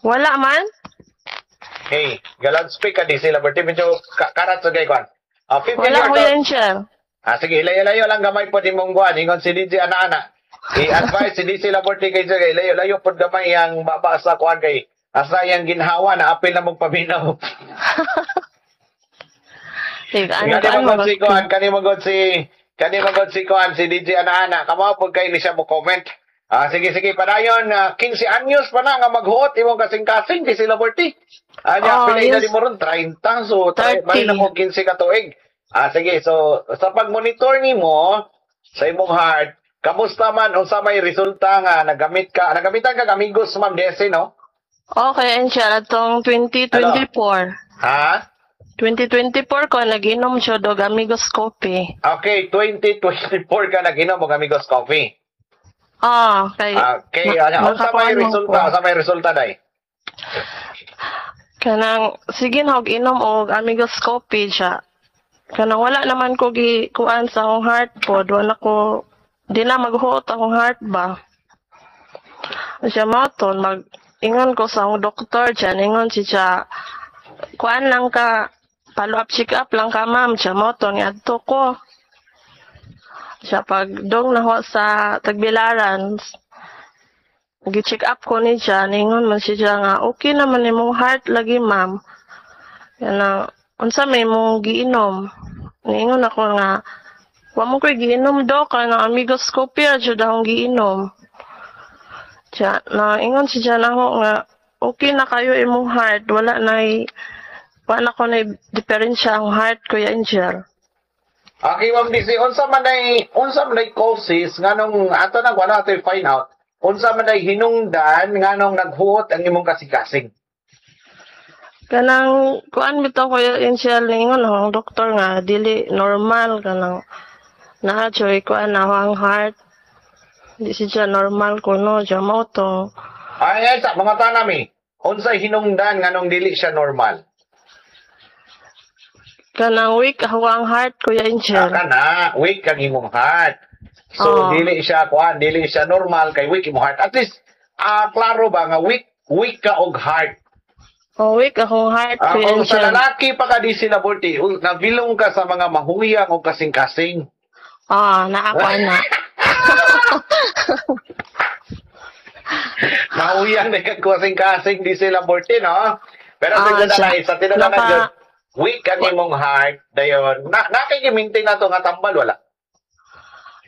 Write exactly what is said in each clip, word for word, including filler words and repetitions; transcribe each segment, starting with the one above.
Wala man. Hey, ga-loudspeak ka D C Laborte, medyo ka- karat sa gay kwan. Ah, fifteen Wala, years Kuya old. Angel. Ah, sige, layo-layo lang gamay po di mong kuan. Ingon si D J ana-ana. I-advise si D C Laborte kay kay layo-layo pod gamay ang baba sa kuan kay asa yang ginhawa na apil na mong paminaw. Sige, ano Kani ano mo si kuan, kani mo god si kani mo god si kuan si D J ana-ana. Kamo pud kay ni siya mo comment. Ah, sige sige, padayon, uh, quinse anyos pa na nga maghuot imong kasing-kasing, D C Laborte. Anya Oh, pila edad yes. mo ron? thirty, so thirty. Bali na mo quinse ka tuig. Ah, sige, so sa pag-monitor nimo sa imong heart, kamusta man, unsa may resulta nga nagamit ka, nagamitan ka Amigos, Ma'am Desi, no? Okay, Angel, atong twenty twenty-four. Ha? twenty twenty-four ko nag-inom siya og Amigos Coffee. Okay, twenty twenty-four ka nag-inom og Amigos Coffee. Ah, kay Okay, ma- ano, unsa may makakuan man resulta? ko. Unsa may resulta day? Kanang sige na og inom og Amigos Coffee siya. Kanang wala naman ko gi kuan sa akong heart pod, wala ko, di na maghuot akong heart ba. Siya mao to mag ingon ko sa akong doktor siya, ingon si siya, kuan lang ka, follow up, check up lang ka, ma'am. Siya mao to niadto ko. Siya pag dong naho sa Tagbilaran, gi-check up ko ni siya, ningon man siya nga okay naman imong heart lagi, ma'am. Yan, unsa may imong giinom? Niingon ako nga wa mo ko'y giinom, dok, kanang Amigos Coffee ra jud akong giinom. Siya, na ingon siya nako nga okay na kayo imong heart, wala na wala ko na diferensya ang heart, Kuya Angel. Okay, Ma'am D C, unsa man ay unsa man ay causes nganong ato nang wala ato find out. Unsa man ay hinungdan nganong naghuot ang imong kasing-kasing? Kanang kuan bitaw, Kuya Angel, ningon ang doktor nga dili normal, kanang naa joy kuan na ang heart. Di siya normal kuno siya mao to. Ay, ay sa mga tanami, unsay hinungdan nganong dili siya normal? Kanang weak ako ang heart, Kuya Angel. Ah, kana, weak ang imong heart. So Oo. dili siya kuan, dili siya normal kay weak imong heart. At least ah klaro ba nga weak weak ka og heart? Oh, weak akong heart, Ah, Kuya kung sa Angel. Lalaki pa ka di sila Borte, nabilong ka sa mga mahuyang o kasing-kasing. Ah, naa ko ana. Mahuyang na kag kasing-kasing di sila Borte, no? Pero Ah, sa siya. na sa tinadanan Naka- jud, weak ang imong heart, dayon. Na nakikimintin na to nga tambal, wala?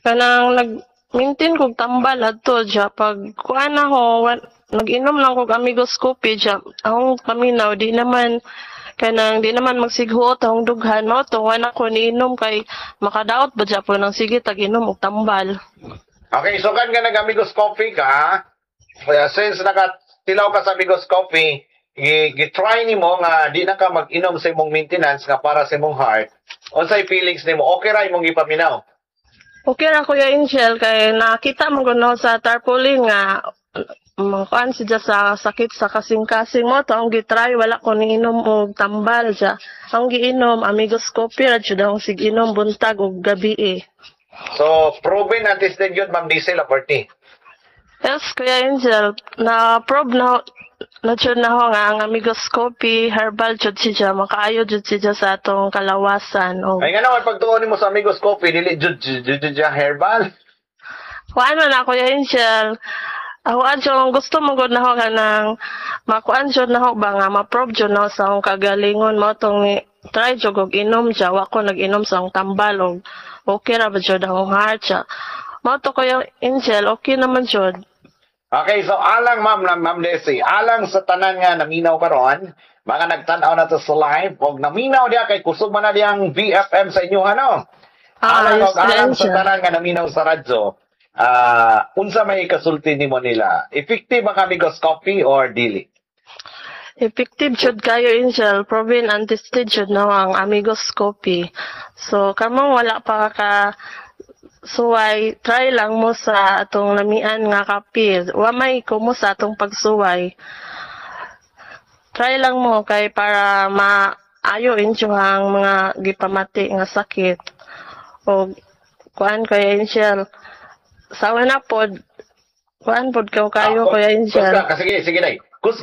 Kanang nag-maintain kog tambal adto siya pag kuan ako, wa- nag-inom lang kog Amigos Coffee siya. Akong paminaw di naman kanang di naman magsighuot akong dughan, mao to wala ko niinom kay makadaot ba siya po nang sige tag inom og tambal. Okay, so kan nga nag-Amigos Coffee ka, kaya since nakatilaw ka sa Amigos Coffee, gi- gi-try nimo nga di na ka mag-inom sa imong maintenance nga para sa imong heart. Unsay feelings nimo? Okay ra imong gipaminaw? Okay ra, Kuya Angel, kay nakita mo kuno sa tarpaulin nga makuan siya sa sakit sa kasing-kasing, mo to ang gitry, wala ko niinom og tambal siya. Ang giinom Amigos Coffee ra jud ang sig inom buntag ug gabi eh. So, proven and tested yun, Ma'am Diesel Aporti. Yes, Kuya Angel, na probe na na jud na ho nga ang Amigos Coffee herbal jud siya, makaayo jud siya sa atong kalawasan og Ay nga naman, pagtuon nimo sa Amigos Coffee, dili jud jud jud jud herbal. Kuan man na, Kuya Angel. Ako adyo ang gusto mo gud na ho kanang makuan jud na ho ba nga ma-probe jud na ho sa akong kagalingon, mo tong ni try jud og inom siya, wa ko nag-inom sa akong tambal og okay ra ba jud akong heart siya. Mao to, Kuya Angel, okay naman jud. Okay, so alang ma'am na Ma'am Desi, alang sa tanan nga naminaw karon, mga nagtan-aw na to sa live, og naminaw diya kay kusog man na diyang V F M sa inyo, ano. Ah, Alang yes, og alang sa Angel. Tanan nga naminaw sa radyo, ah unsa may kasulti nimo nila? Effective ang Amigos Coffee or dili? Effective jud kayo, Angel, proven and tested jud na ang Amigos Coffee. So kamong wala pa ka suway, try lang mo sa atong lamian nga kape. Wa may kumo sa atong pagsuway. Try lang mo kay para maayo inyo ang mga gipamati nga sakit. O kuan, Kuya Angel. Sawa na pod, kuan pod kaw kayo, Ah, Kuya Angel. Basta, sige, sige day.